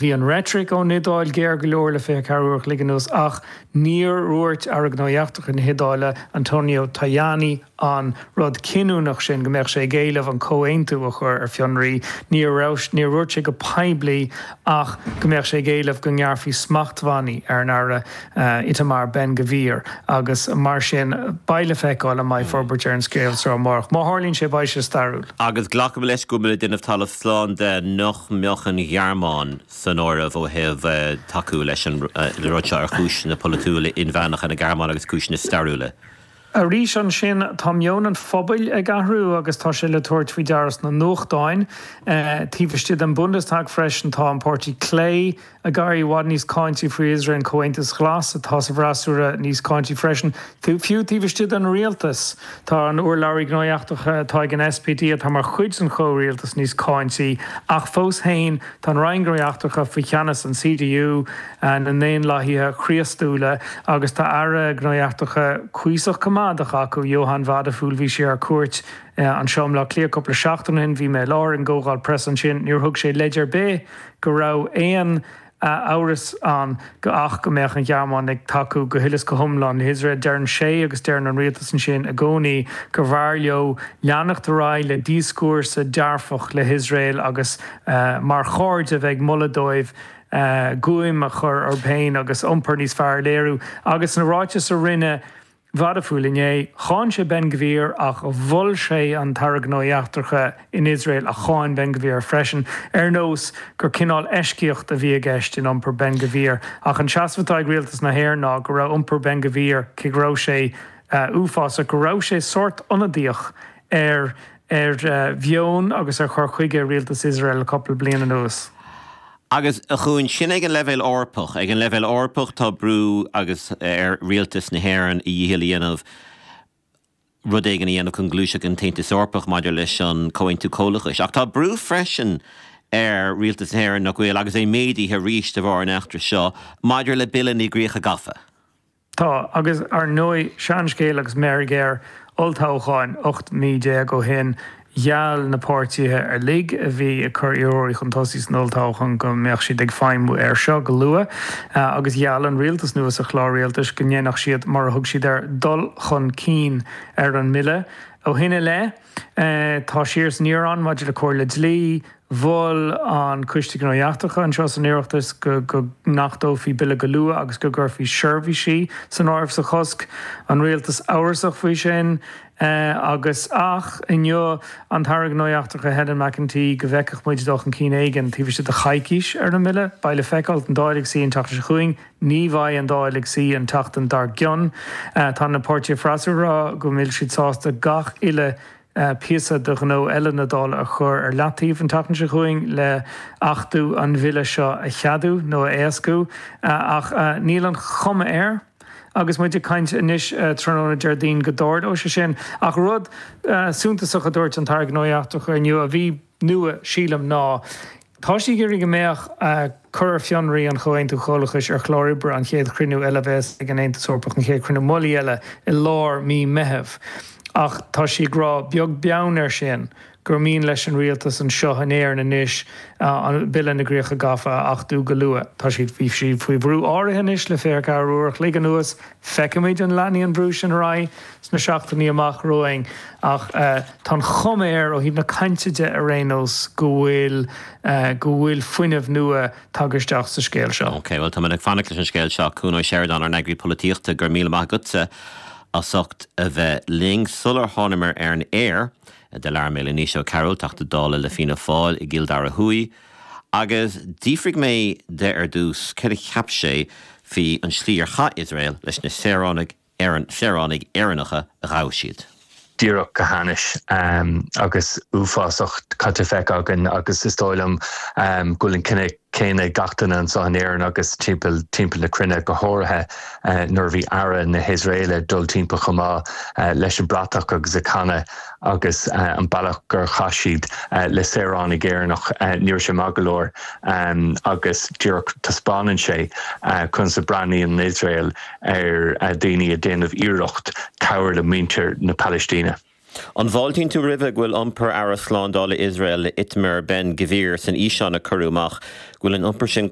Bhí an reitric ón Iodáil géar go leor le 24 uair a chloig anuas ach níor dhúirt Aire Gnóthaí Eachtracha na hIodáile, Antonio Tajani, an rud cinniúnach sin, go mbeadh sé ag éileamh an comhaontú a chur ar fionraí. Níor níor dhúirt sé go poiblí ach go mbeadh sé ag éileamh go ngearrfaí smachtbhannaí ar an Aire Itamar Ben Gvir agus mar sin beidh le feiceáil an mbeidh forbairt ar an scéal seo amárach. Má tharlaíonn sé beidh sé stairiúil. Agus glacaim leis go bhfuil muid ag déanamh talamh slán de nach mbeadh an Ghearmáin san áireamh ó thaobh tacú leis an rud seo ar chúiseanna polaitiúla inmheánacha na Gearmáine agus cúiseanna stairiúla. Arís ansin, tá meon an phobail ag athrú agus tá sé le tabhairt faoi deara sna nuachtáin. Taobh istigh den Bundestag freisin, tá an Páirtí Clé ag éirí i bhfad níos cáintí faoi Iosrael, an Comhaontas Glas atá sa bhfreasúra níos cáintí freisin. Fiú taobh istigh den rialtas, tá an urlabhraí gnóthaí eachtracha atá ag an SPD, atá mar chuid den chomhrialtas, níos cáintí. Ach fós féin, tá an Roinn Gnóthaí Eachtracha faoi cheannas an CDU, na nDaonlathaithe Chríostúla, agus tá Aire Gnóthaí Eachtracha cuíosach coimeádach acu, Johann Wadephul, bhí sé ar cuairt anseo i mBleá Cliath cúpla seachtain ó shin, bhí mé i láthair ag an gcomhdháil preasa ansin, níor thug sé leid ar bith go raibh aon amhras ann go ach go mbeadh an Ghearmáin ag tacú go huile is go hiomlán le hIosrael. Deireann sé agus deireann an rialtas ansin i gcónaí gur bhfearr leo leanacht ar aghaidh le díoscúrsa dearfach le hIosrael agus mar chairde a bheith ag moladh dóibh guaim a chur orthu féin agus iompar níos fearr a léiriú. Agus sna ráitis a rinne Wadephul inné, cháin sé Ben Gvir ach mhol sé an tAire Gnóthaí Eachtracha in Iosrael a cháin Ben Gvir freisin, ar nós gur cineál eisceacht a bhí i gceist in iompar Ben Gvir. Ach an seasamh atá ag rialtas na hÉireann ná go raibh iompar Ben Gvir, cé go raibh sé uafásach, go raibh sé sórt ionadaíoch ar ar mheon agus ar chur chuige rialtas Iosrael le cúpla bliain anuas. Agus, a Chuain, sin ag an leibhéal Eorpach. Ag an leibhéal Eorpach tá brú agus ar rialtas na hÉireann a dhícheall a dhéanamh rud éigin a dhéanamh chun gluaiseacht an tAontas Eorpach maidir leis an Comhaontú Comhlachais. Ach tá brú freisin ar rialtas na hÉireann, nach bhfuil, agus é méadaithe arís de bharr an eachtra seo, maidir le Bille na gCríocha Gafa. Tá, agus ar ndóigh, seanscéal agus meirg air, olltoghcháin 18 mí ó shin, gheall na páirtithe uilig a bhí ag cur iarrthóirí chun tosaigh san olltoghchán go mbeadh siad ag feidhmiú air seo go luath, agus gheall an rialtas nua sa chlár rialtais go ndéanfadh siad, mar a thug siad air, dul chun cinn ar an mbille. Ó shin i leith, tá siar is aniar ann maidir le comhairle dlí, Mhol an Coiste Gnóthaí Eachtracha anseo san Oireachtas go n-achtófaí bille go luath agus go gcuirfí seirbhísí san áireamh sa chosc. An rialtas amhrasach faoi sin agus ach inniu an tAire Gnóthaí Eachtracha Helen McEntee go bhfeicfeadh muid dul chun cinn éigin taobh istigh de choicís ar an mbille. Beidh le feiceáil. An Dáil ag suí an tseachtain seo chugainn. Ní bheidh an Dáil ag suí an tseachtain dár gcionn. Tá na páirtithe freasúra ag rá go bhfuil siad sásta gach uile píosa de ghnó eile na Dála a chur ar leataobh an tseachtain seo chugainn le achtú an bhille seo a cheadú nó a éascú. Ach níl an chuma air, agus muid ag caint anois tráthnóna Déardaoin, go dtarlóidh sé sin. Ach rud suntasach a dúirt an tAire Gnóthaí Eachtracha inniu, a bhí nua, sílim, ná Tá sí ag iarraidh go mbeadh cur ar fionraí an Chomhaontú Comhlachais ar chlár oibre an chéad chruinniú eile a bheas ag an Aontas Eorpach, an chéad chruinniú mullaigh eile i lár mí Meitheamh. Ach tá sí ag rá, beag beann air sin, gur mian leis an rialtas anseo in Éirinn anois an Bille na gCríocha Gafa a achtú go luath. Tá siad, bhí siad faoi bhrú áirithe anois le 24 uair a chloig anuas. Feicfimid an leanfaidh an brú sin ar aghaidh sna seachtainí amach romhainn ach tá an chuma air, ó thaobh na cainte de ar aon nós, go bhfuil go bhfuil fuinneamh nua tagtha isteach sa scéal seo. Ok, bhuel táimid ag fanacht leis an scéal seo. Cuan Ó Seireadáin, ár n-eagraí polaitíochta, go raibh míle maith agatsa as ucht a bheith linn. Sular thánamar ar an aer, do labhair mé le Naoise Ó Cearúil, Teachta Dála le Fianna Fáil i gCill Dara Thuaidh, Agus d'fhiafraigh mé de ar dtús céard a cheap sé faoi an slí ar chaith Iosrael leis na saoránaigh saoránaigh Éireannacha a ghabh siad. díreach go hainnis agus uafásach caite feicthe againn agus is dóigh liom go bhfuil an cinneadh céanna ag gach duine anseo in Éirinn agus timpeall timpeall na cruinne, go háirithe nuair a bhí Aire na hIosraeile ag dul timpeall chomh maith leis an bratach agus ag canadh agus an bealach gur chaith siad le saoránaigh Éireannach, ní raibh sé maith go leor agus díreach taispeánann sé conas a breathnaíonn Iosrael ar daoine ag déanamh iarracht cabhair le muintir na Palaistíne. An bhfáiltíonn tú roimhe go bhfuil iompar Aire Slándála Iosrael, Itamar Ben Gvir, san fhíseán a cuireadh amach, go bhfuil an iompar sin.